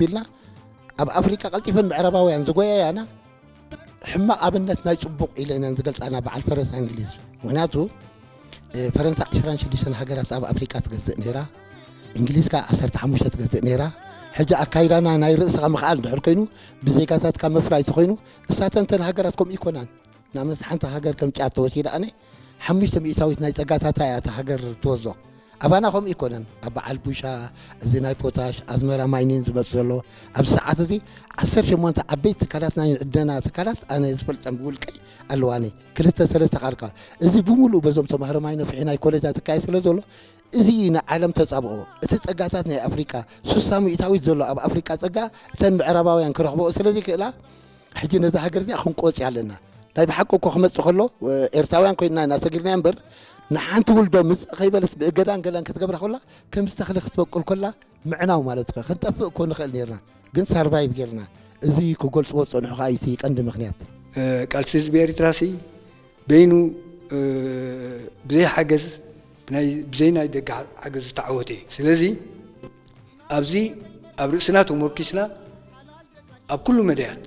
ቢልና ኣብ ኣፍሪቃ ቀልጢፈን ምዕራባውያን ዝጎያያና ሕማቕ ኣብነት ናይ ጽቡቕ ኢለንን ዝገልጻና በዓል ፈረንሳ እንግሊዝ። ምኽንያቱ ፈረንሳ ዕስራን ሽዱሽተን ሃገራት ኣብ ኣፍሪቃ ትገዝእ ነይራ። እንግሊዝ ከኣ ዓሰርተ ሓሙሽተ ትገዝእ ነይራ። ሕጂ ኣካይዳና ናይ ርእስኻ ምኽኣል እንድሕር ኮይኑ ብዜጋታትካ ምፍራይ ተኾይኑ እሳተን እተን ሃገራት ከምኡ ይኮናን። ንኣብነት ሓንቲ ሃገር ከም ጫድ ተወሲዳ ኣነ ሓሙሽተ ሚእታዊት ናይ ጸጋታታ እያ እታ ሃገር ትወስዶ። ኣባና ከምኡ ይኮነን። ኣብ በዓል ቡሻ፣ እዚ ናይ ፖታሽ ኣዝመራ ማይኒን ዝመጽእ ዘሎ ኣብዚ ሰዓት እዚ ዓሰርተ ሸሞንተ ዓበይቲ ትካላት ናይ ዕደና ትካላት ኣነ ዝፈልጠን ብውልቀይ ኣለዋኒ። ክልተ ሰለስተ ካልካ እዚ ብምሉእ በዞም ተማሃሮ ማይ ነፍሒ ናይ ኮሌጃት ዝካየድ ስለ ዘሎ እዚ ንዓለም ተጻብኦ። እቲ ጸጋታት ናይ ኣፍሪቃ ሱሳ ሚእታዊት ዘሎ ኣብ ኣፍሪቃ ጸጋ እተን ምዕራባውያን ክረኽብኦ ስለ ዘይክእላ ሕጂ ነዛ ሃገር እዚኣ ክንቆጽያ ኣለና። ናይ ብሓቂ እኮ ክመጽእ ከሎ ኤርትራውያን ኮይንና ኢና ሰጊርና እምበር ንሓንቲ ውልዶ ምጽእ ከይበለስ ብእገዳን ገላን ክትገብራ ከላ ከምዚ ተኽሊ ክትበቁል ከላ ምዕናው ማለት ከ ክንጠፍእ እኮ ንኽእል ነርና ግን ሳርቫይቭ ጌርና። እዚ ክገልጽዎ ዝጸንሑ ከኣ እዩ እቲ ቀንዲ ምኽንያት። እ፣ ቃልሲ ህዝቢ ኤርትራ ሲ በይኑ እ፣ ብዘይ ሓገዝ ብናይ- ብዘይ ናይ ደገ ሓ- ሓገዝ ዝተዓወተ እዩ። ስለዚ ኣብዚ ኣብ ርእስና ተመርኪስና ኣብ ኩሉ መዳያት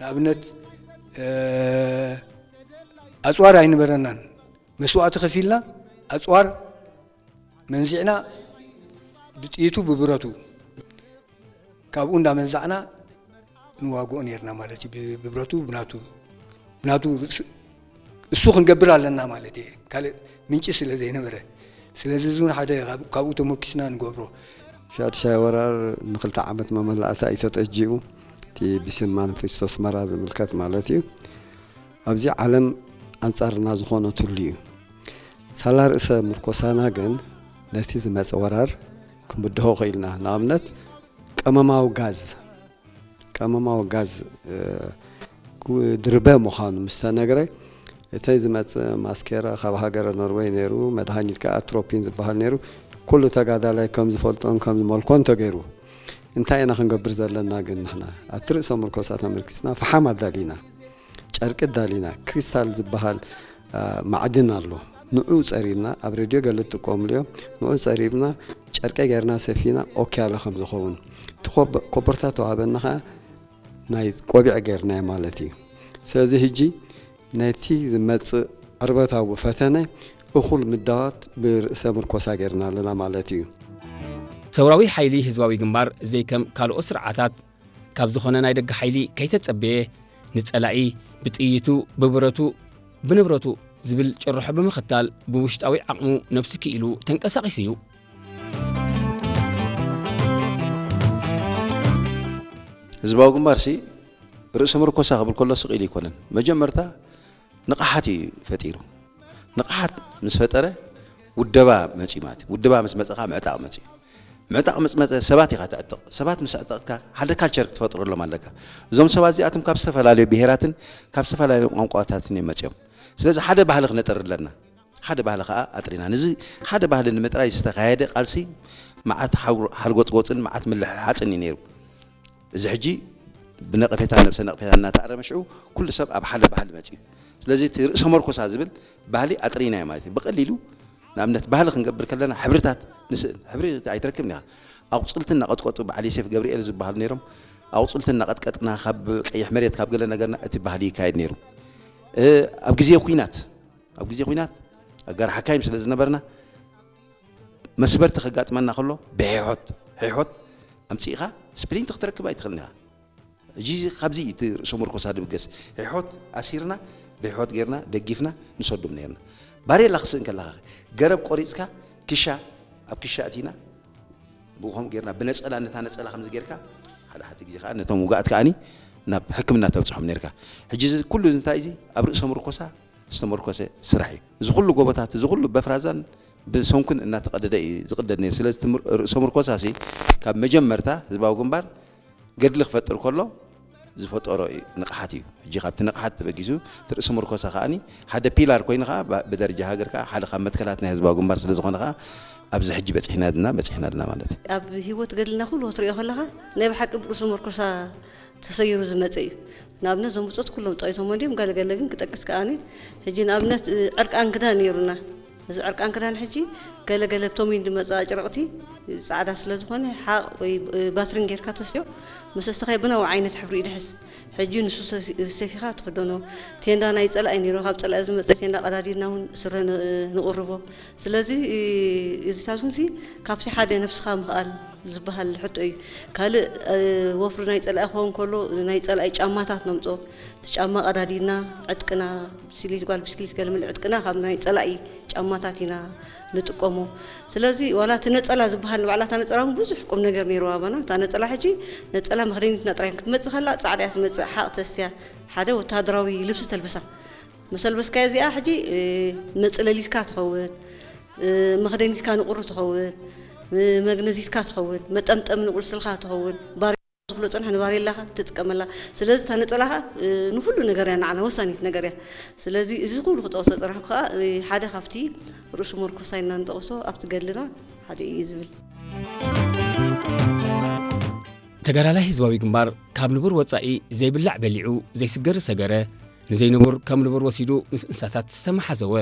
ንኣብነት እ፣ ኣጽዋር ኣይነበረናን። መስዋእቲ ከፊልና ኣጽዋር መንዚዕና ብጥይቱ ብብረቱ ካብኡ እንዳመንዛዕና ንዋግኦ ነርና ማለት እዩ። ብ- ብብረቱ ብናቱ ብናቱ ርእሲ- እሱ ክንገብር ኣለና ማለት እየ። ካልእ ምንጪ ስለ ዘይነበረ ስለዚ እዚ እውን ሓደ ካብ- ካብኡ ተመርኪስና ንገብሮ። ሻድሻይ ወራር ንክልተ ዓመት መመላእታ እዩ ተጠጂኡ። እቲ ብስም ማኒፌስቶ ኣስመራ ዝምልከት ማለት እዩ። ኣብዚ ዓለም ኣንጻርና ዝኾነትሉ እዩ። ሳላ ርእሰ ምርኮሳና ግን ነቲ ዝመጸ ወራር ክምድሆ ክኢልና። ንኣብነት ቀመማዊ ጋዝ ቀመማዊ ጋዝ ድርበ ምዃኑ ምስ ተነግረ እተይ ዝመጽእ ማስኬራ ካብ ሃገረ ኖርወይ ነይሩ። መድሃኒት ከዓ ኣትሮፒን ዝበሃል ነይሩ። ኩሉ ተጋዳላይ ከም ዝፈልጦን ከም ዝመልኮን ተገይሩ። እንታይ ኢና ክንገብር ዘለና ግን ንሕና ኣብቲ ርእሰ ምርኮሳ ተመርኪስና ፈሓም ኣዳሊና፣ ጨርቂ ኣዳሊና፣ ክሪስታል ዝበሃል ማዕድን ኣሎ። ንዑ ጸሪብና ኣብ ሬድዮ ገለ ትጥቀምሉ እዮም። ንዑ ጸሪብና ጨርቂ ገይርና ሰፊና ኦኬ ኣለ ከም ዝኸውን እቲ ኮበርታ ተዋህበና ከዓ ናይ ቆቢዕ ገይርናዮ ማለት እዩ። ስለዚ ህጂ ነቲ ዝመጽእ ዕርበታዊ ፈተነ እኹል ምዳዋት ብርእሰ ምርኮሳ ገይርና ኣለና ማለት እዩ። ሰውራዊ ሓይሊ ህዝባዊ ግንባር ዘይከም ካልኦት ስርዓታት ካብ ዝኾነ ናይ ደገ ሓይሊ ከይተጸበየ ንጸላኢ ብጥይቱ፣ ብብረቱ፣ ብንብረቱ ዝብል ጭርሖ ብምኽታል ብውሽጣዊ ዓቕሙ ነብሲ ክኢሉ ተንቀሳቒሱ እዩ። ህዝባዊ ግንባር ሲ ርእሰ ምርኮሳ ክብል ከሎ ስቕ ኢሉ ኣይኮነን። መጀመርታ ንቕሓት እዩ ፈጢሩ። ንቕሓት ምስ ፈጠረ ውደባ መፅዩ ማለት እዩ። ውደባ ምስ መፀ ከዓ ምዕጣቕ መፅዩ። ምዕጣቕ ምስ መፀ ሰባት ኢኻ ተዕጥቕ። ሰባት ምስ ኣዕጠቕካ ሓደ ካልቸር ክትፈጥረሎም ኣለካ። እዞም ሰባት እዚኣቶም ካብ ዝተፈላለዩ ብሄራትን ካብ ዝተፈላለዩ ቋንቋታትን እዮም መፅዮም። ስለዚ ሓደ ባህሊ ክነጥሪ ኣለና። ሓደ ባህሊ ከዓ ኣጥሪና። ነዚ ሓደ ባህሊ ንምጥራይ ዝተኻየደ ቃልሲ መዓት ሓርጎፅጎፅን መዓት ምልሕሓፅን እዩ ነይሩ። እዚ ሕጂ ብነቐፌታ ነብሰ ነቕፌታ እናተኣረመ ሽዑ ኩሉ ሰብ ኣብ ሓደ ባህሊ መፅኡ። ስለዚ እቲ ርእሰ መርኮሳ ዝብል ባህሊ ኣጥሪናዮ ማለት እዩ። ብቐሊሉ ንኣብነት ባህሊ ክንገብር ከለና ሕብርታት ንስእል። ሕብሪ ኣይትረክብን ኢኻ። ኣቑፅልቲ እናቐጥቀጡ በዓል ዮሴፍ ገብርኤል ዝበሃሉ ነይሮም። ኣቑፅልቲ እናቐጥቀጥና ካብ ቀይሕ መሬት ካብ ገለ ነገርና እቲ ባህሊ ይካየድ ነይሩ። ኣብ ግዜ ኲናት ኣብ ግዜ ኲናት ኣጋር ሓካይም ስለ ዝነበርና መስበርቲ ከጋጥመና ከሎ ብሕሖት ሕሖት ኣምፂእኻ ስፕሊንት ክትረክብ ኣይትኽእልን ኢኻ። ሕጂ ካብዚ እቲ ርእሰ መርኮሳ ድብገስ ሕሖት ኣሲርና ብሕሖት ጌርና ደጊፍና ንሰዶም ነርና። ባሬላ ክስእን ከለኻ ገረብ ቆሪፅካ ክሻ ኣብ ክሻ እቲና ብኡ ከምኡ ጌርና ብነፀላ ነታ ነፀላ ከምዚ ጌርካ ሓደ ሓደ ግዜ ከዓ ነቶም ውጋኣት ከዓኒ ናብ ሕክምና ተብፅሖም ነርካ። ሕጂ እዚ ኩሉ እንታይ እዚ ኣብ ርእሰ መርኮሳ ዝተመርኮሰ ስራሕ እዩ። እዚ ኩሉ ጎቦታት እዚ ኩሉ በፍራዛን ብሰንኩን እናተቐደደ እዩ ዝቕደድ ነይሩ። ስለዚ እቲ ርእሰ ምርኮሳ ሲ ካብ መጀመርታ ህዝባዊ ግንባር ገድሊ ክፈጥር ከሎ ዝፈጠሮ እዩ ንቕሓት እዩ። ሕጂ ካብቲ ንቕሓት ተበጊሱ እቲ ርእሰ ምርኮሳ ከዓኒ ሓደ ፒላር ኮይኑ ከዓ ብደረጃ ሃገር ከዓ ሓደ ካብ መትከላት ናይ ህዝባዊ ግንባር ስለ ዝኾነ ከዓ ኣብዚ ሕጂ በፂሕና ድና በፂሕና ድና ማለት እዩ። ኣብ ህይወት ገድልና ኩሉ ክትሪኦ ከለኻ ናይ ብሓቂ ብርእሱ ምርኮሳ ተሰይሩ ዝመፀ እዩ። ንኣብነት እዞም ብፆት ኩሎም ጠቒሶሞ እንዲዮም፣ ገለገለ ግን ክጠቅስ ከኣኒ። ሕጂ ንኣብነት ዕርቃን ክዳን ነይሩና። እዚ ዕርቃን ክዳን ሕጂ ገለገለ ብቶም ድመፃ ኣጭረቕቲ ጻዕዳ ስለ ዝኾነ ሓቕ ወይ ባስሪን ጌርካ ተስትዮ፣ መሰስተኻይ ብናዊ ዓይነት ሕብሪ እዩ ድሕዝ። ሕጂ ንሱ ሰፊኻ ትኽደኖ። ቴንዳ ናይ ጸላኢ ነይሩ፣ ካብ ጸላኢ ዝመጸ ቴንዳ ቀዳዲድና እውን ስረ ንቕርቦ። ስለዚ እዚታት እውን ካብቲ ሓደ ነብስኻ ምኽኣል ዝበሃል ሕቶ እዩ። ካልእ ወፍሪ ናይ ጸላኢ ክኸውን ከሎ ናይ ጸላኢ ጫማታት ነምጾ። እቲ ጫማ ቀዳዲድና ዕጥቅና፣ ብስክሊት ጓል ብስክሊት ገለመለ ዕጥቅና ካብ ናይ ጸላኢ ጫማታት ኢና ንጥቀሞ። ስለዚ ዋላ እቲ ነጸላ ዝበሃል ንባዕላ እታ ነጸላ እውን ብዙሕ ቁም ነገር ነይርዋ ኣባና። እታ ነጸላ ሕጂ ነጸላ መኽደኒትና ጥራይ ክትመጽእ ከላ ጻዕዳ እያ ትመጽእ። ሓቕ ተስትያ ሓደ ወታደራዊ ልብሲ ተልብሳ። መሰልበስካዮ እዚኣ ሕጂ መጽለሊትካ ትኸውን፣ መኽደኒትካ ንቑሪ ትኸውን፣ መግነዚትካ ትኸውን፣ መጠምጠሚ ንቁልስልካ ትኸውን። ዝብሎ ጸንሐ ንባሬላኻ ትጥቀመላ። ስለዚ እታ ነጸላኻ ንኹሉ ነገር እያ ንዓና ወሳኒት ነገር እያ። ስለዚ እዚ ኩሉ ክጠቕሶ ጸናሕኩ ከኣ ሓደ ካብቲ ርእሱ መርኮሳ ኢልና ንጠቕሶ ኣብቲ ገድልና ሓደ እዩ ዝብል። ተጋዳላይ ህዝባዊ ግንባር ካብ ንቡር ወጻኢ ዘይብላዕ በሊዑ ዘይስገር ዝሰገረ፣ ንዘይንቡር ከም ንቡር ወሲዱ ምስ እንስሳታት ዝተመሓዘወ፣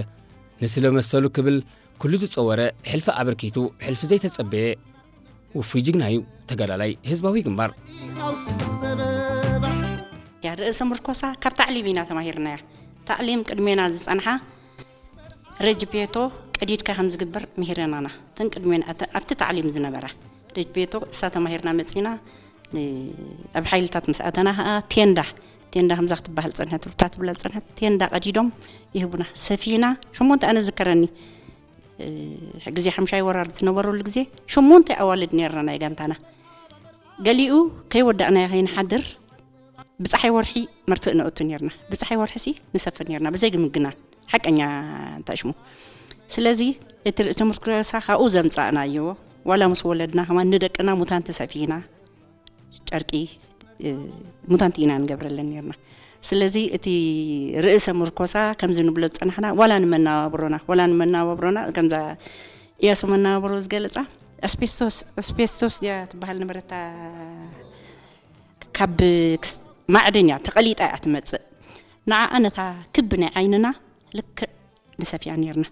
ንስለ መሰሉ ክብል ኩሉ ዝጸወረ፣ ሕልፊ ኣበርኪቱ ሕልፊ ዘይተጸበየ ውፉይ ጅግና እዩ ተጋዳላይ ህዝባዊ ግንባር። ያ ርእሰ ምርኮሳ ካብ ታዕሊም ኢና ተማሂርናያ። ታዕሊም ቅድሜና ዝጸንሓ ረጅቤቶ ቀዲድካ ከም ዝግበር ምሂረናና። እተን ቅድሜና ኣብቲ ታዕሊም ዝነበራ ረጅቤቶ እሳ ተማሂርና መጺና ኣብ ሓይልታት ምስ ኣተና ከዓ ቴንዳ ቴንዳ ከምዛ ክትበሃል ጸንሐት ሩታ ትብላ ጸንሐት ቴንዳ ቀዲዶም ይህቡና ሰፊና ሸሞንተ ኣነ ዝከረኒ ግዜ ሓምሻይ ወራር ዝነበረሉ ግዜ ሸሞንተ ኣዋልድ ነርና ናይ ጋንታና። ገሊኡ ከይወዳእናዮ ከይንሓድር ብፀሓይ ወርሒ መርፍእ ነእቱ ነርና። ብፀሓይ ወርሒ ሲ ንሰፍር ነርና ብዘይ ግምግና ሓቀኛ እንተሽሙ። ስለዚ እቲ ርእሰ ምርኮሳ ካብኡ ዘምፃእናዮ ዋላ ምስ ወለድና ከማን ንደቅና ሙታንቲ ሰፊና ጨርቂ ሙታንቲ ኢና ንገብረለን ነርና። ስለዚ እቲ ርእሰ ምርኮሳ ከምዚ ንብሎ ዝፀናሕና ዋላ ንመናባብሮና ዋላ ንመናባብሮና ከምዛ እያሱ መናባብሮ ዝገለፃ ኣስቤስቶስ ኣስቤስቶስ ድያ ትበሃል ነበረታ ካብ ማዕድን እያ ተቐሊጣ እያ ትመፅእ። ንዓኣ ነታ ክቢ ናይ ዓይንና ልክዕ ንሰፍያ ነርና።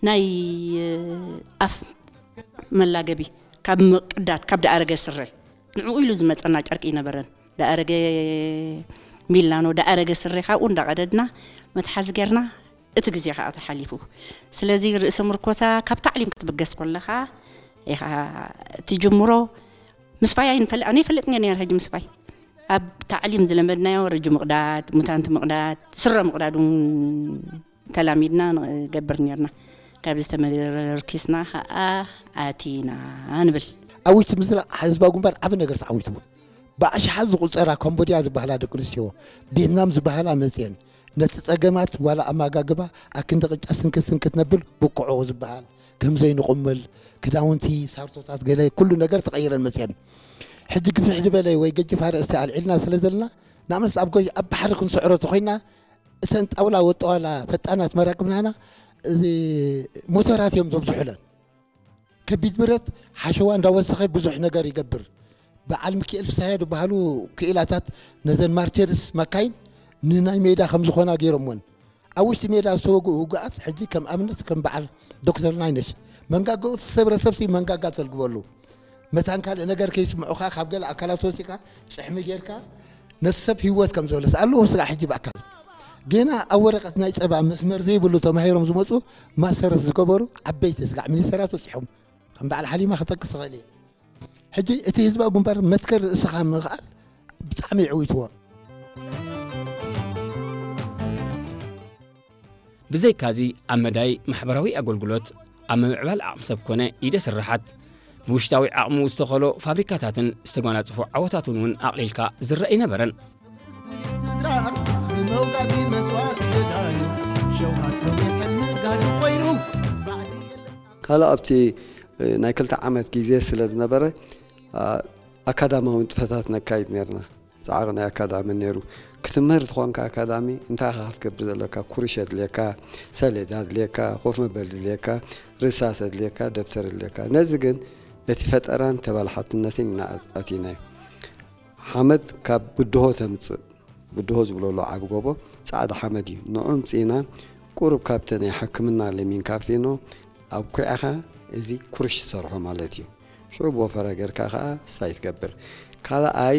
ናይ ኣፍ መላገቢ ካብ ምቅዳድ ካብ ደኣረገ ስረ ንዕኡ ኢሉ ዝመፀና ጨርቂ ይነበረን። ደኣረገ ሚላኖ ደኣረገ ስረ ካብኡ እንዳቀደድና መትሓዚ ገርና እቲ ግዜ ከዓ ተሓሊፉ። ስለዚ ርእሰ ምርኮሳ ካብ ታዕሊም ክትብገስ ከለኻ ኢኻ ትጅምሮ። ምስፋይ ኣይንፈልጥ ኣነ ይፈልጥ ነር ነር ሕጂ ምስፋይ ኣብ ታዕሊም ዝለመድናዮ ረጂ ምቕዳድ ሙታንቲ ምቕዳድ ስረ ምቕዳድ እውን ተላሚድና ንገብር ነርና። ካብዚ ተመርኪስና ከዓ ኣቲና ንብል። ኣብ ውሽጢ ምስላ ህዝባዊ ግንባር ዓቢ ነገር ተዓዊቱ። ብኣሽሓት ዝቑጸራ ካምቦድያ ዝበሃላ ደቂ ኣንስትዮ፣ ቬትናም ዝበሃላ መጽየን፣ ነቲ ጸገማት ዋላ ኣመጋግባ ኣክንዲ ቅጫ ስንክት ስንክት ነብል ብቁዑ ዝበሃል ከም ዘይንቑምል ክዳውንቲ ሳርቶታት ገለ ኩሉ ነገር ተቐይረን መጽየን። ሕጂ ግፍሕ ዝበለ ወይ ገጅፍ ኣርእስቲ ኣልዒልና ስለ ዘለና ንኣብነት ኣብ ጎይ ኣብ ባሕሪ ክንስዕሮ ተኾይና እተን ጣውላ ወጠዋላ ፈጣናት መራክብናና እዚ ሞተራት እዮም ዘብዝሑለን። ከቢድ ብረት ሓሸዋ እንዳወሰኸ ብዙሕ ነገር ይገብር። በዓል ሚኪኤል ፍስሃየ ዝበሃሉ ክኢላታት ነዘን ማርቸርስ መካይን ንናይ ሜዳ ከም ዝኾና ገይሮምወን። ኣብ ውሽጢ ሜዳ ዝተወግኡ ውጉኣት ሕጂ ከም ኣብነት ከም በዓል ዶክተር ናይነሽ መንጋገኡ ዝተሰብረ ሰብሲ መንጋጋ ተልግበሉ። መታን ካልእ ነገር ከይስምዑኻ ካብ ገለ ኣካላት ወፂኻ ጭሕሚ ጌርካ ነቲ ሰብ ህይወት ከም ዘውለስ ኣለዉ ስጋዕ ሕጂ ብኣካል ገና ኣብ ወረቐት ናይ ፀባ መስመር ዘይብሉ ተማሂሮም ዝመፁ ማስተርስ ዝገበሩ ዓበይቲ ስጋዕ ሚኒስተራት በፂሖም ከም በዓል ሓሊማ ክጠቅስ ይኽእል እየ። ሕጂ እቲ ህዝባዊ ግንባር መትከል ርእስኻ ምኽኣል ብጣዕሚ የዕዊትዎ። ብዘይካዚ ኣብ መዳይ ማሕበራዊ ኣገልግሎት፣ ኣብ ምምዕባል ዓቕሚ ሰብ ኮነ ኢደ ስርሓት፣ ብውሽጣዊ ዓቕሙ ዝተኸሎ ፋብሪካታትን ዝተጓናጽፎ ዓወታትን እውን ኣቕሊልካ ዝረአ ኣይነበረን። ካልእ ኣብቲ ናይ ክልተ ዓመት ግዜ ስለ ዝነበረ ኣካዳማዊ ንጥፈታት ነካይድ ነርና። ጻዕቕ ናይ ኣካዳሚ ነይሩ። ክትምህር ተኾንካ ኣካዳሚ እንታይ ኢኻ ክትገብር ዘለካ? ኩርሽ የድልየካ፣ ሰሌዳ የድልየካ፣ ኮፍ መበሊ የድልየካ፣ ርሳስ የድልየካ፣ ደብተር የድልየካ። ነዚ ግን በቲ ፈጠራን ተባላሓትነትን ኢና ኣቲናዮ። ሓመድ ካብ ብድሆ ተምጽእ። ብድሆ ዝብሎ ኣሎ ዓቢ ጎቦ፣ ጻዕዳ ሓመድ እዩ። ንዑ ኣምጺእና ቁሩብ ካብቲ ናይ ሕክምና ለሚን ካፌኖ ኣብ ኩዕኻ እዚ ኩርሽ ትሰርሖ ማለት እዩ። ሽዑ ብወፈረ ጌርካ ከዓ ስታይ ትገብር። ካልኣይ